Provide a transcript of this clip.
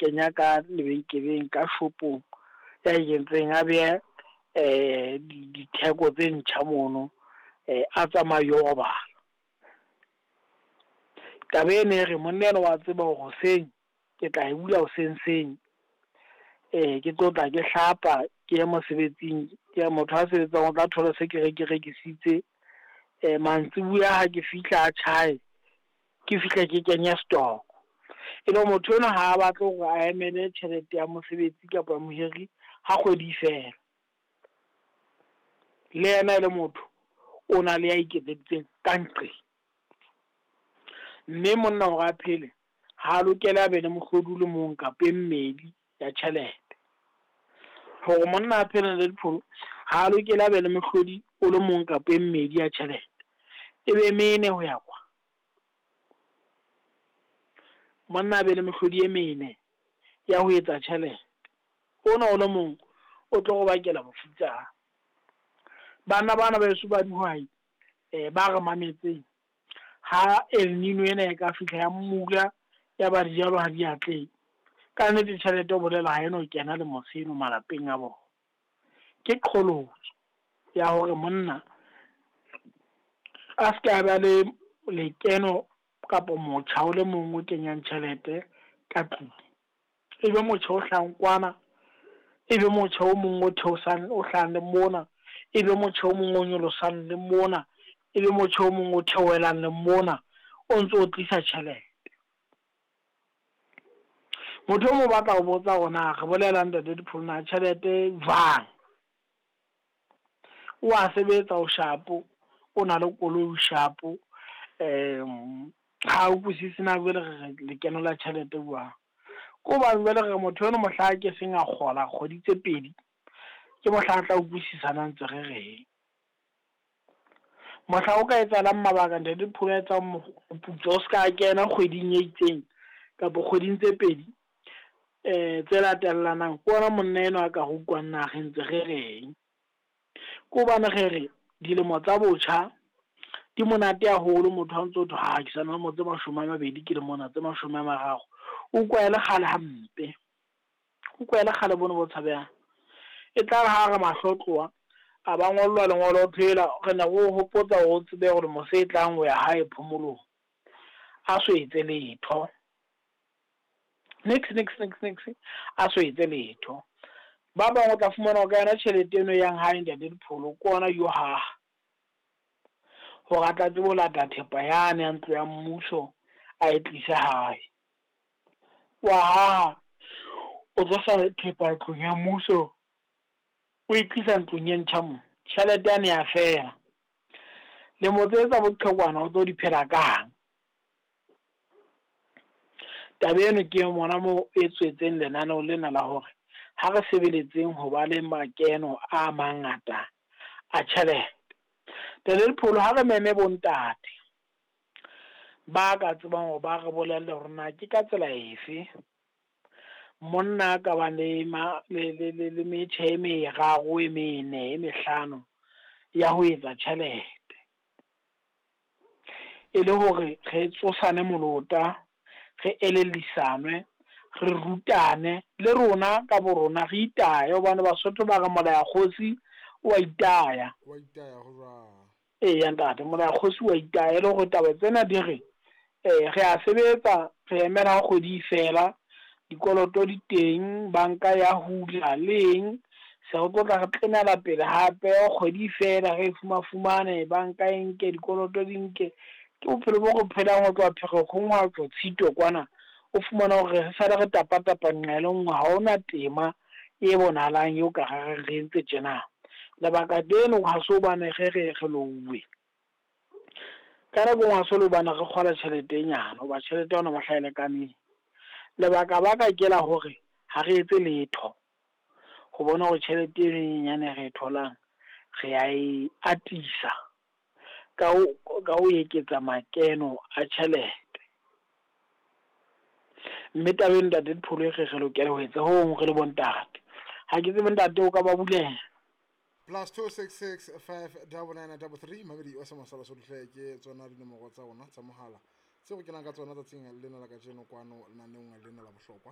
kenya ka lebenkeleng ka shopong ya e entseng, a behe ditheko tse ntjha mono, a tsamaye yo robala. Taba ena e re monna enwa wa tseba hore hoseng ke tla e bula hoseng seng, ke tlo tla ke hlapa ke ye mosebetsing, ke motho a sebetsang o tla thola se ke rekisitse. Mantsibuya ha ke fihla a tjhae, ke fihle ke kenye stock. E le motho enwa ha a batle hore a emele tjhelete ya mosebetsi kapa mohiri ha kgwedi e fela. Le yena e le motho o na le ya iketseditseng ka nqeng. Mme monna hore a phele, ha lokela a be le mohlodi o le mong kapa e mmedi ya tjhelete. Hore monna a phele le dipholo, ha lokela a be le mohlodi o le mong kapa e mmedi ya tjhelete. E be mene ho ya kwa. Monna a be le mehlodi e mene ya ho etsa tjhelete. Ona o le mong o tlo go bakela bofutsana. Banna bana ba heso ba dihwai, ba re mametseng, ha El Nino ena e ka fihla ya mmula ya ba dijalo ha di atlehe, ka nnete tjhelete o bolela ha eno kena le moseno malapeng a bona. Ke qholotso ya hore monna a ska ba le lekeno kapa motjha o le mong o kenyang tjhelete ka tlung. E be motjha o hlahang kwana, e be motjha o mong o theosang o hlahang le mona, e be motjha o mong o nyolosang le mona, e be motjha o mong o theohelang le mona, o ntso o tlisa tjhelete. Motho o mong o batla ho botsa hore na re bolela ntate Dipholo na tjhelete jwang. O a sebetsa o shapo, o na le koloi o shapo, ha utlwisise na jwale re lekeno la tjhelete jwang. Ko hobane jwale re motho eno mohla ke seng a kgola kgwedi tse pedi, ke mohla a tla utlwisisana ntse re reng. Mohla o ka etsahalang mabaka ntate Dipholo a etsang moputso o ska kena kgweding e itseng kapa kgweding tse pedi tse latellanang, ke ona monna enwa a ka re utlwang na re ntse re reng. Ke hobane re re dilemo tsa botjha di monate haholo, motho ha ntso thwe ha ke sa na le tse 20 ke le mona, tse 30, o utlwa e le kgale hampe, o utlwa e le kgale bono bo tshabehang. E tla re ha re mahlo tloha, a ba ngollwa lengolo phela re ne re o hopotsa hore o tsebe hore mose e tlang ho ya hae phomolong, a so etse letho. Nix nix nix nix, a so etse letho. Ba bang o tla fumana ka yona tjhelete eno e yang hae ntate Dipholo, ke ona yo haha hore a tla tsebe ho lata thepa yane ya ntlo ya mmuso a e tlise hae. Wa haha, o tlosa thepa ntlong ya mmuso, o e tlisa ntlong e ntjha mo, tjhelete yane ya fela. Lemo tse tsa boqhekwana o tlo di phela kang? Taba eno ke mona moo e tswetseng lenaneo lena la hore ha re sebeletseng ho ba le makeno a mangata a tjhelete. Ntate Dipholo, ha re meme bontate ba ka tsebang hore ba re bolelle hore na ke ka tsela efe monna a ka bang le le metjha e meraro, e mene, e mehlano ya ho etsa tjhelete. E le hore re tsosane molota, re elellisanwe, re rutane le rona ka bo rona re itaye, hobane Basotho ba re molaya kgosi o a itaya. Wa itaya ho jwang? Eya ntate, molaya kgosi wa itaya, e le hore taba tsena di re re a sebetsa, re emela ha kgwedi e fela, dikoloto di teng, banka ya hula leng, se re tlo tla re tlenela pele hape kgwedi fela re fumafumane, banka e nke, dikoloto di nke. Ke bophelo bo re phelang ho tloha Pherekgong ho ya tlo Tshitwe kwana, o fumana hore re sale re tapa-tapa nqa e le nngwe, ha hona tema e bonahalang eo ka re re entse tjena. Lebaka leno ha se hobane re re re louwe, ka nako engwe ha se le hobane re kgola tjhelete e nyane, hoba tjhelete ya hona mohla e lekaneng. Lebaka baka ke la hore ha re etse letho ho bona hore tjhelete eno e nyenyane re e tholang re a e atisa ka ho eketsa makeno a tjhelete. Mme taba eno ntate Dipholo e re re lokela ho etsa ho hong re le bontate. Ha ke tsebe ntate o ka ba bulela. +266 599 33 Mamedi wa Semasala Sohle, ke tsona dinomoro tsa rona tsa mohala tseo re kenang ka tsona tsatsing lena la kajeno kwano lenaneong lena la bohlokwa.